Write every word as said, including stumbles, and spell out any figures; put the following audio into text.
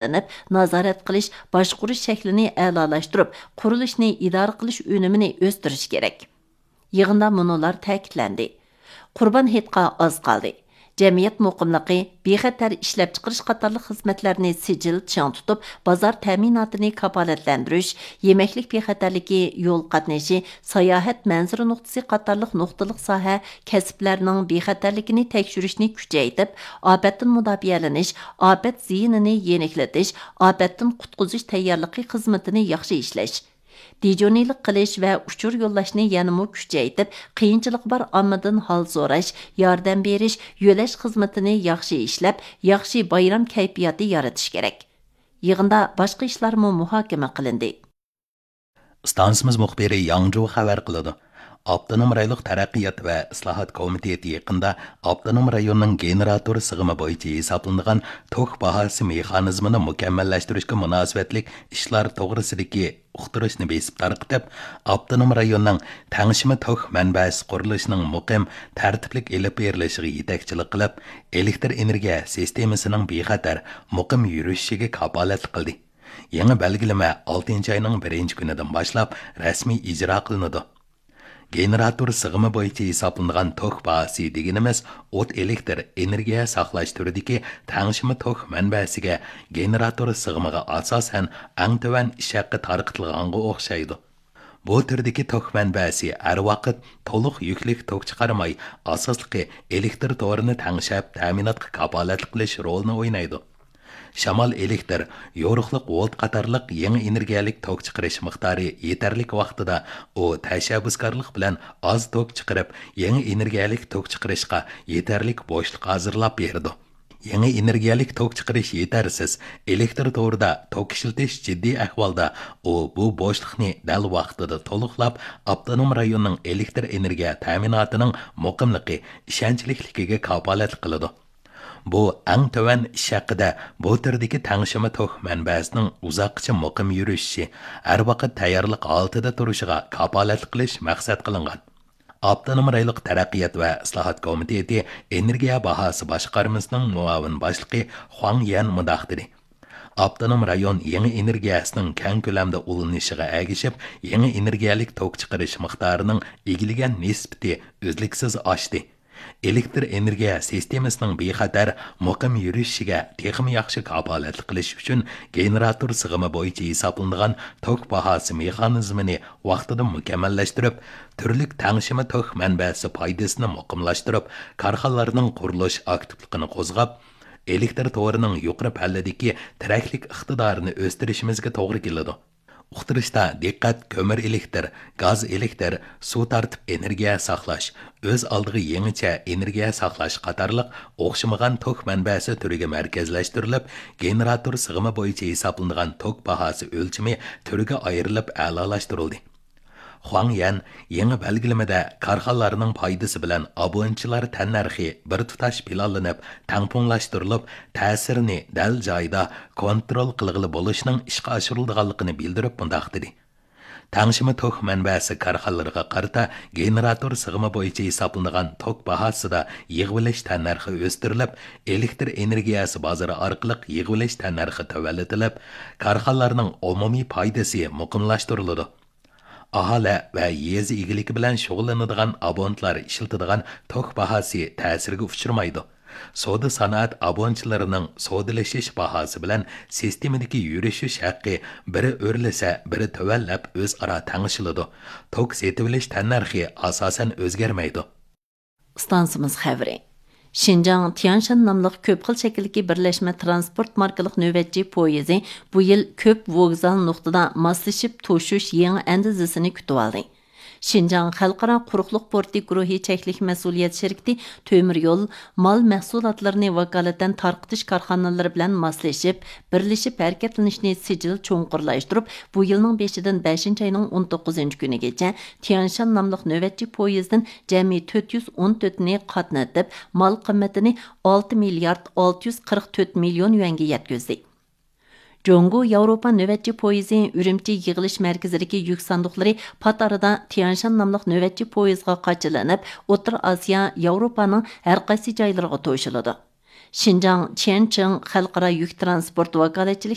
ئېلىپ، نازارەت قىلىش، باشقۇرۇش شەكلىنى ئەلالاشتۇرۇپ، قۇرۇلۇشنى ئىدارە قىلىش ئۈنۈمىنى ئۆستۈرۈش كېرەك. يىغىندا مۇنۇلار تەكىتلەندى. قۇربان ھېيتقا ئاز قالدى. جەمئىيەت مۇقىملىقى، بىخەتەر ئىشلەپچىقىرىش قاتارلىق خىزمەتلەرنى سىجىل چىڭ تۇتۇپ، بازار تەمىناتىنى كاپالەتلەندۈرۈش، يېمەكلىك بىخەتەرلىكى، يول قاتنىشى، ساياھەت مەنزىرە نۇقتىسى قاتارلىق نۇقتىلىق ساھە، كەسىپلەرنىڭ بىخەتەرلىكىنى تەكشۈرۈشنى كۈچەيتىپ، ئاپەتتىن مۇداپىئەلىنىش، ئاپەت زىيىنىنى يېنىكلىتىش، ئاپەتتىن قۇتقۇزۇش تەييارلىقى خىزمىتىنى ياخشى ئىشلەش، دىجورنىيلىق قىلىش ۋە ئۇچۇر يوللاشنى يەنىمۇ كۈچەيتىپ، قىيىنچىلىقى بار ئاممىدىن ھال سوراش، ياردەم بېرىش، يۆلەش خىزمىتىنى ياخشى ئىشلەپ، ياخشى بايرام كەيپىياتى يارىتىش كېرەك. يىغىندا باشقا ئىشلارمۇ مۇھاكىمە قىلىندى. ئىستانسىمىز مۇخبىرى ياڭجۇ خەۋەر قىلىدۇ. ئاپتونوم رايونلۇق تەرەققىيات ۋە ئىسلاھات كومىتېتى يېقىندا ئاپتونوم رايوننىڭ گېنېراتور سىغىمى بويىچە ھېسابلىنىدىغان توك باھاسى مېخانىزمىنى مۇكەممەللەشتۈرۈشكە مۇناسىۋەتلىك ئىشلار توغرىسىدىكى ئۇقتۇرۇشنى بېسىپ تارقىتىپ، ئاپتونوم رايوننىڭ تەڭشىمە توك مەنبەسى قۇرۇلۇشىنىڭ مۇقىم، تەرتىپلىك ئېلىپ بېرىلىشىغا يېتەكچىلىك قىلىپ، ئېلېكتر ئېنېرگىيە سىستېمىسىنىڭ بىخەتەر، مۇقىم يۈرۈشۈشىگە كاپالەتلىك قىلدى. يېڭى بەلگىلىمە ئالتىنچى ئاينىڭ بىرىنچى كۈنىدىن باشلاپ رەسمىي ئىجرا قىلىنىدۇ. گېنېراتور سىغىمى بويىچە ھېسابلىنىدىغان توك باھاسى دېگىنىمىز ئوت ئېلېكتر ئېنېرگىيە ساقلاش تۈرىدىكى تەڭشىمە توك مەنبەسىگە گېنېراتور سىغىمىغا ئاساسەن ئەڭ تۆۋەن ئىش ھەققى تارقىتىلغانغا ئوخشايدۇ. بۇ تۈردىكى توك مەنبەسى ھەر ۋاقىت تولۇق يۈكلۈك توك چىقارماي، ئاساسلىقى ئېلېكتر تورىنى تەڭشەپ، تەمىناتقا كاپالەتلىك قىلىش رولىنى ئوينايدۇ. شامال ئېلېكتر، يورۇقلۇق ۋولت قاتارلىق يېڭى ئېنېرگىيەلىك توك چىقىرىش مىقدارى يېتەرلىك ۋاقتىدا، ئۇ تەشەببۇسكارلىق بىلەن ئاز توك چىقىرىپ، يېڭى ئېنېرگىيەلىك توك چىقىرىشقا يېتەرلىك بوشلۇق ھازىرلاپ بېرىدۇ. يېڭى ئېنېرگىيەلىك توك چىقىرىش يېتەرسىز، ئېلېكتر تورىدا توك ئىشلىتىش جىددىي ئەھۋالدا، ئۇ بۇ بوشلۇقنى دەل ۋاقتىدا تولۇقلاپ، ئاپتونوم رايوننىڭ ئېلېكتر ئېنېرگىيە تەمىناتىنىڭ مۇقىملىقى، ئىشەنچلىكلىكىگە كاپالەتلىك قىلىدۇ. بۇ ئەڭ تۆۋەن ئىش ھەققىدە بۇ تۈردىكى تەڭشىمە توك مەنبەسىنىڭ ئۇزاققىچە مۇقىم يۈرۈشۈشى، ھەر ۋاقىت تەييارلىق ھالىتىدە تۇرۇشىغا كاپالەتلىك قىلىش مەقسەت قىلىنغان. ئاپتونوم رايونلۇق تەرەققىيات ۋە ئىسلاھات كومىتېتى ئېنېرگىيە باھاسى باشقارمىسىنىڭ مۇئاۋىن باشلىقى خۇاڭ يەن مۇنداق دېدى: ئاپتونوم رايون يېڭى ئېنېرگىيەسىنىڭ كەڭ كۆلەمدە ئۇلىنىشىغا ئەگىشىپ، يېڭى ئېنېرگىيەلىك توك چىقىرىش مىقدارىنىڭ ئىگىلىگەن نىسبىتى ئۈزلۈكسىز ئاشتى. ئېلېكتر ئېنېرگىيە سىستېمىسىنىڭ بىخەتەر، مۇقىم يۈرۈشۈشىگە تېخىمۇ ياخشى كاپالەتلىك قىلىش ئۈچۈن، گېنېراتور سىغىمى بويىچە ھېسابلىنىدىغان توك باھاسى مېخانىزمىنى ۋاقتىدا مۇكەممەللەشتۈرۈپ، تۈرلۈك تەڭشىمە توك مەنبەسى پايدىسىنى مۇقىملاشتۇرۇپ، كارخانىلارنىڭ قۇرۇلۇش ئاكتىپلىقىنى قوزغاپ، ئېلېكتر تورىنىڭ يۇقىرى پەللىدىكى تىرەكلىك ئىقتىدارىنى ئۆستۈرۈشىمىزگە توغرا كېلىدۇ. ئۇقتۇرۇشتا دىققەت كۆمۈر ئېلېكتىر، گاز ئېلېكتىر، سۇ تارتىپ ئېنېرگىيە ساقلاش، ئۆز ئالدىغا يېڭىچە ئېنېرگىيە ساقلاش قاتارلىق ئوخشىمىغان توك مەنبەسى تۈرىگە مەركەزلەشتۈرۈلۈپ، گېنېراتور سىغىمى بويىچە ھېسابلىنىدىغان توك باھاسى ئۆلچىمى تۈرگە ئايرىلىپ ئەلالاشتۇرۇلدى. خۇاڭ يەن يېڭى بەلگىلىمىدە كارخانىلارنىڭ پايدىسى بىلەن ئابونېنتلار تەننەرخى بىر تۇتاش پىلانلىنىپ، تەڭپۇڭلاشتۇرۇلۇپ، تەسىرىنى دەل جايىدا كونترول قىلغىلى بولۇشنىڭ ئىشقا ئاشۇرۇلىدىغانلىقىنى بىلدۈرۈپ مۇنداق دېدى: تەڭشىمە توك مەنبەسى كارخانىلىرىغا قارىتا گېنېراتور سىغىمى بويىچە ھېسابلىنىدىغان توك باھاسىدا يىغىۋېلىش تەننەرخى ئۆستۈرۈلۈپ، ئېلېكتر ئېنېرگىيەسى بازىرى ئارقىلىق يىغىۋېلىش تەننەرخى تۆۋەنلىتىلىپ، كارخانىلارنىڭ ئومۇمىي پايدىسى مۇقىملاشتۇرۇلىدۇ. ئاھالە ۋە يېزا ئىگىلىكى بىلەن شۇغۇللىنىدىغان ئابونېنتلار ئىشلىتىدىغان توك باھاسى تەسىرگە ئۇچرىمايدۇ. سودا سانائەت ئابونېنتلىرىنىڭ سودىلىشىش باھاسى بىلەن سىستېمىدىكى يۈرۈشۈش ھەققى بىرى ئۆرلىسە، بىرى تۆۋەنلەپ ئۆزئارا تەڭشىلىدۇ. توك سېتىۋېلىش تەننەرخى ئاساسەن ئۆزگەرمەيدۇ. ئىستانسىمىز خەۋىرى. شىنجاڭ تيانشان ناملىق كۆپ خىل شەكىلدىكى بىرلەشمە ترانسپورت ماركىلىق نۆۋەتچى پويىزى بۇ يىل كۆپ ۋوگزال نۇقتىدا ماسلىشىپ توشۇش يېڭى ئەندىزىسىنى كۈتۈۋالدى. شىنجاڭ خەلقئارا قۇرۇقلۇق پورتى گۇرۇھى چەكلىك مەسئۇلىيەت شىركىتى تۆمۈر يول مال مەھسۇلاتلىرىنى ۋاكالىتەن تارقىتىش كارخانىلىرى بىلەن ماسلىشىپ، بىرلىشىپ ھەرىكەتلىنىشنى سىجىل چوڭقۇرلاشتۇرۇپ، بۇ يىلنىڭ بېشىدىن بەشىنچى ئاينىڭ ئون توققۇزىنچى كۈنىگىچە تيانشان ناملىق نۆۋەتچى پويىزدىن جەمئىي تۆت يۈز ئون تۆتىنى قاتنىتىپ، مال قىممىتىنى ئالتە مىليارد ئالتە يۈز قىرىق تۆت مىليون يۈەنگە يەتكۈزدى. جۇڭگو ياۋروپا نۆۋەتچى پويىزى ئۈرۈمچى يىغىلىش مەركىزىدىكى يۈك ساندۇقلىرى پات ئارىدا تيانشان ناملىق نۆۋەتچى پويىزغا قاچىلىنىپ، ئوتتۇرا ئاسىيا، ياۋروپانىڭ ھەر قايسى جايلىرىغا توشۇلىدۇ. شىنجاڭ چيەنچىڭ خەلقئارا يۈك تىرانسپورت ۋاكالەتچىلىك